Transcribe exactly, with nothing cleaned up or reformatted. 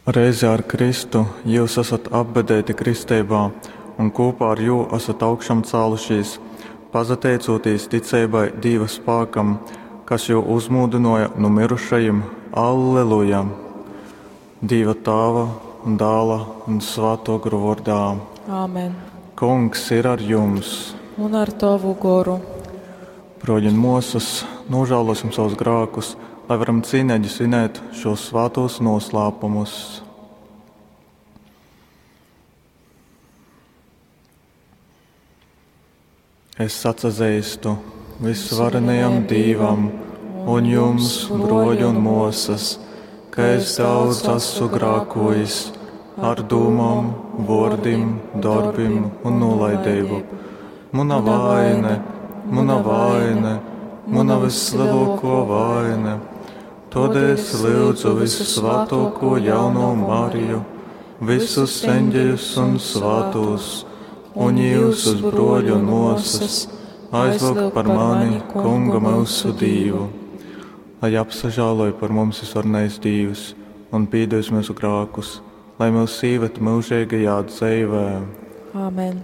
Reizē ar Kristu jyus asat apbedeiti kristeibā un kūpā ar jū asat augšamcālušīs, pasateicūtīs ticeibai Dīva spākam, kas jū uzmūdynōja nu myrušajim. Alleluja! Dīva Tāva un Dāla un Svātō Gora vōrdā. Āmen. Kungs ir ar jums! Un ar tovu goru. Brōļi un mōsas, nožēlosim savus grākus, lai varam cīneigi svinēt šos svātos noslēpumus. Es atsazeistu visvarenajam Dīvam un jums, broļi un mosas, ka es daudz esmu grākojis ar dūmām, vōrdim, darbim un nolaidību. Muna vaine, muna vaine, muna vislielāko vaine. Todēļ es lūdzu visusvētāko jauno Mariju, visus eņģeļus un svētos, un jūsus broļu un mosas, aizlūgt par mani, Kungu mūsu Dīvu. Lai apsažāloj par mums visvarenais Dīvs un pīdevis mūsu grākus, lai mūs īved mūžīgajā dzīvē. Āmen.